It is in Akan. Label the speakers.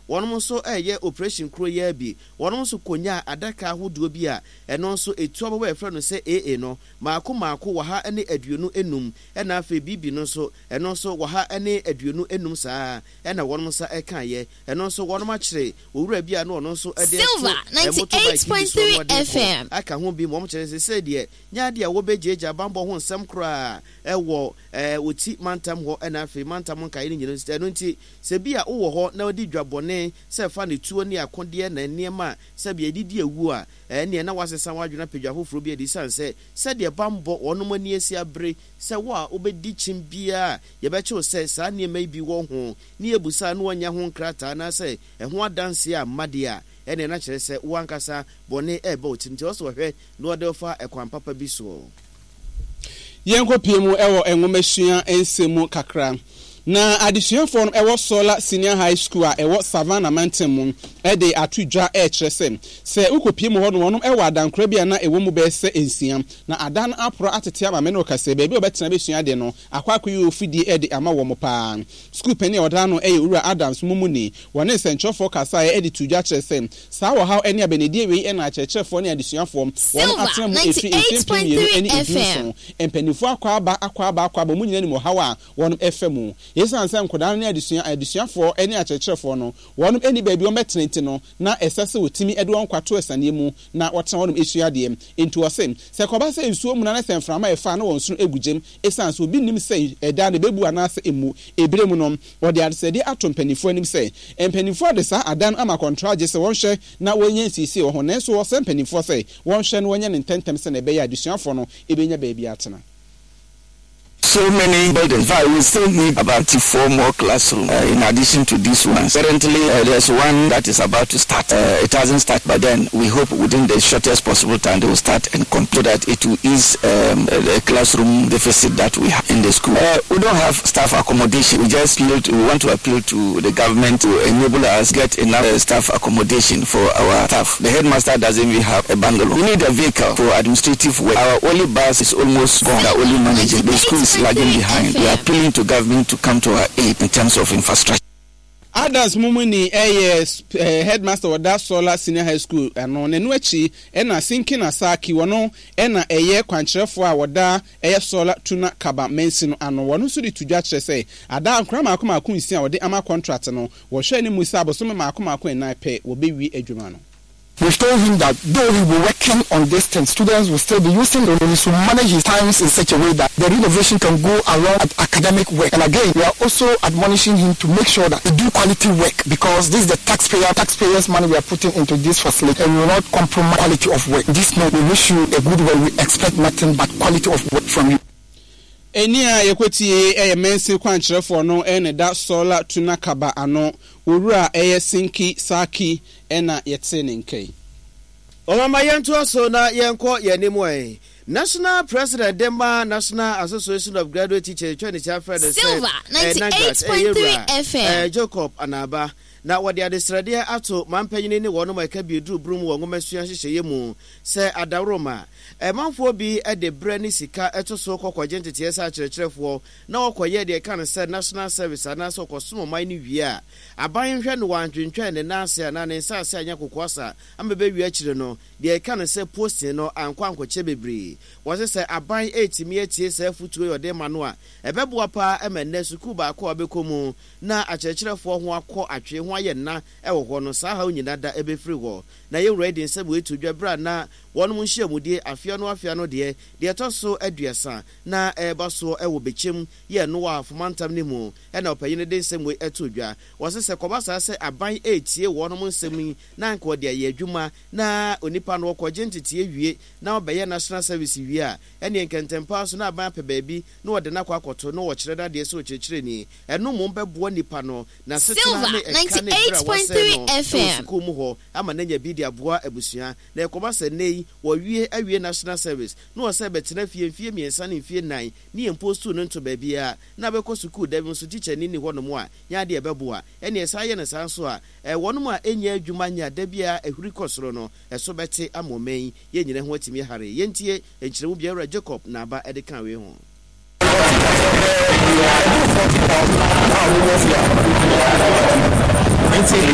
Speaker 1: Wɔnom nso reyɛ operation koro yi ara bi. Wɔnom nso kɔnyaa adaka ahodoɔ bi a ɛno nso ɛtu abɔbɔ a yɛfrɛ no sɛ AA no, maako maako 125, ɛna afei BB no nso, ɛno nso 125 saa ara na wɔnom nsa kaeɛ. Ɛno nso wɔnom akyere owura bi a na ɔno nso de reto
Speaker 2: Silver
Speaker 1: motorbike bi soɔ na
Speaker 2: 98.3
Speaker 1: ɔde rekɔ
Speaker 2: FM.
Speaker 1: aka ho bi ma wɔkyerɛ sɛ seesei deɛ nyɛ adeɛ a wɔbɛgyaagyaa bammɔ ho nsɛm koraa wɔ Oti mantam hɔ na afei mantam nkaeɛ no nyinaa. Ɛno nti sɛ bi a wowɔ hɔ na wodi dwa bɔne sɛ fa ne tuo ne akodeɛ na nneɛma a sɛbea yɛde di awuo a, ɛnneɛ na woasesa w'adwene apɛ dwa foforɔ bi adi ɛsiane sɛ sɛdeɛ bammɔ wɔnom ani asi abere sɛ wo a wobɛdi kyim biara a yɛbɛkye wo sɛ saa nneɛma yi bi wɔ ho ne yɛbusa na woannya ho nkrataa anaasɛ ɛho adanseɛ amma deɛ a, ɛnneɛ na kyerɛ sɛ wo ankasa bɔne reba wo tirim nti ɛwɔ sɛ wɔhwɛ na wɔde wo fa ɛkwan papa bi soɔ.
Speaker 3: Yɛnkɔpue mu wɔ nwomasua nsɛm mu kakra. Na adesuafoɔ no wɔ Sola Senior High School a ɛwɔ Savannah mantam mu de ato dwa rekyerɛ sɛ, sɛ wokɔpue mu hɔ no wɔnom wɔ adankora bi a na ɛwɔ mu bɛyɛ sɛ nsia. Na adan no aporɔ atete ama me ne wo ka sɛ baabi a wɔbɛtena bɛsua adeɛ no akɔ akɔyɛ ofidie de ama wɔn paa. Sukuu panin a ɔda ano yɛ Owura Adams Mumuni. Wɔne nsɛnkyerɛwfoɔ kasaeɛ de too dwa kyerɛɛ sɛ, saa ɔhaw ne abɛnadie wei na akyerɛkyerɛfoɔ ne adesuafoɔ wɔn
Speaker 2: Silver
Speaker 3: atena mu ɛfiri mfeɛ 2015.
Speaker 2: 98.3 FM.
Speaker 3: Mpanimfoɔ akɔ aba, akɔ aba, akɔ aba, wɔn nyinaa nim ɔhaw a wɔn fa mu. Esiane sɛ nkwadaa no ne adesua, adesuafoɔ ne akyerɛkyerɛfoɔ no, wɔn nni baabi wɔbɛtena nti no, na ɛsɛ sɛ wɔtumi de wɔn nkwa to asianeɛ mu na wɔtena hɔnom sua adeɛ. Enti wɔse, sɛ ɛkɔba sɛ nsuo muna na sɛ mframa ɛfa a na wɔn nsono gu gyam, esiane sɛ obi nnim sɛ ɛda no ɛbɛbu anaasɛ ɛmmu. Ɛberɛ mu no, wɔde adesrɛdeɛ ato mpanimfoɔ anim sɛ, mpanimfoɔ de saa adan no ama kɔntragye sɛ wɔnhwɛ na wɔnyɛ nsiesie wɔ ho, nanso wɔsrɛ mpanimfoɔ sɛ wɔnhwɛ na wɔnyɛ no ntɛmntɛm sɛdeɛ ɛbɛyɛ a adesuafoɔ no bɛnya baabi atena.
Speaker 4: So many buildings. In fact, we still need about 4 more classrooms in addition to these ones. Currently, there's one that is about to start. It hasn't started, but then we hope within the shortest possible time they will start and complete so that it will ease the classroom deficit that we have in the school. We don't have staff accommodation. We just appeal to, we want to appeal to the government to enable us get enough staff accommodation for our staff. The headmaster doesn't even have a bungalow. We need a vehicle for administrative work. Our only bus is almost gone. We are only managing. The school is lagging behind. We are appealing to government to come to our aid in terms of infrastructure.
Speaker 3: Adams Mumuni yɛ headmaster wɔ Da Sola Senior High School ano, na ɛno akyi na Sinkin Asaki, wɔno na ɛyɛ kwankyerɛfoɔ a wɔda ɛyɛ Sola Tuna Kaba mansin no ano. Wɔno nso de to dwa kyerɛ sɛ ada nkora mmaako mmaako nsia a wɔde ama kɔntrat no, wɔhwɛ anim sɛ abosome mmaako mmaako nnan pɛ wɔbɛwie adwuma no.
Speaker 5: We've told him that though he will be working on this thing, students will still be using it, he should manage his times in such a way that the renovation can go along with academic work. And again, we are also admonishing him to make sure that he do quality work because this is the taxpayer, taxpayers' money we are putting into this facility and we will not compromise quality of work. This note, we wish you a good work. We expect nothing but quality of work from you.
Speaker 3: Ɛnne a yɛkɔtiee yɛ mansin kwankyerɛfoɔ no na ɛda Sola Tuna Kaba ano, Owura ɛyɛ Sinki Sarki na yɛtee ne nka yi.
Speaker 1: Ɔmama yɛntoa so na yɛnkɔ yɛn anim ɛ. National President de ma National Association of Graduate Teachers twa ne ti afrɛ no sɛ
Speaker 2: Silver
Speaker 1: NAGRAT, ɛyɛ
Speaker 2: 98.3
Speaker 1: Wura
Speaker 2: FM.
Speaker 1: Jacob Anaaba, na wɔde adesrɛdeɛ ato mampanyini ne wɔnom a ɛka bi duru brum wɔ nwomasua nhyehyɛeɛ mu sɛ adaworoma. Ɛmanfoɔ bi de berɛ ne sika to so kɔ kɔgye nteteɛ sɛ akyerɛkyerɛfoɔ na wɔkɔyɛ deɛ ɛka no sɛ National Service anaasɛ ɔkɔsom ɔman no wie a, aban nhwɛ no wantwentwɛn ne nan ase anaa ne nsa ase anyɛ kokoasa ama bɛwie akyire no, deɛ ɛka no sɛ posting no ankɔ ankɔkyɛ bebree. Wɔse sɛ aban retumi atie saa afutuo yi ɔde rema no a, ɛbɛboa paa ma nnɛ sukuu baako a wobɛkɔ mu na akyerɛkyerɛfoɔ ho akɔ atwee ho ayɛ nna wɔ hɔ no, saa haw nyina da bɛfiri hɔ. Na yɛn wura yi de nsɛm wei too dwa berɛ a na wɔnom nhyiamudie afeano afeano deɛ, deɛ ɛtɔ so aduasa na ɛreba soɔ wɔ Bɛkyɛm yɛ no wɔ Ahafo mantam no mu na ɔpanyin no de nsɛm wei too dwa. Wɔse sɛ kɔba saa sɛ aban retie wɔnom nsɛm yi na anka wɔde ayɛ adwuma na onipa no ɔkɔgye nteteɛ wie na ɔbɛyɛ national service wie a, ɛneɛ nkɛntɛmpaa so na aban apɛ baabi na wɔde no akɔ akɔto na wɔkyerɛ no adeɛ sɛ ɔkyerɛkyerɛni. Ɛno mmom bɛboa nipa no n'asetena
Speaker 2: Silver
Speaker 1: ne ɛka ne berɛ a wasɛe no
Speaker 2: 98.3
Speaker 1: wɔ
Speaker 2: FM.
Speaker 1: sukuu mu hɔ ama no anya bi de aboa abusua. Na ɛkɔba sɛ nnɛ yi wɔawie awie national service na wɔsɛ bɛtena fie mfie mmiɛnsa ne mfie nnan ne yɛn postuu no nto baabiara na bɛkɔ sukuu da bi nso tikyani nni hɔnom a, nyɛ adeɛ a ɛbɛboa. Ɛnneɛ saa yɛ no saa nso a, wɔnom a ɛnnya adwuma nyɛ a da biara ahuri kɔ soro no, ɛso bɛte ama ɔman yi, yɛn nyinaa ho atumi ahare. Yɛntie nkyerɛmu bi a Awura Jacob Naaba de kaa wei ho.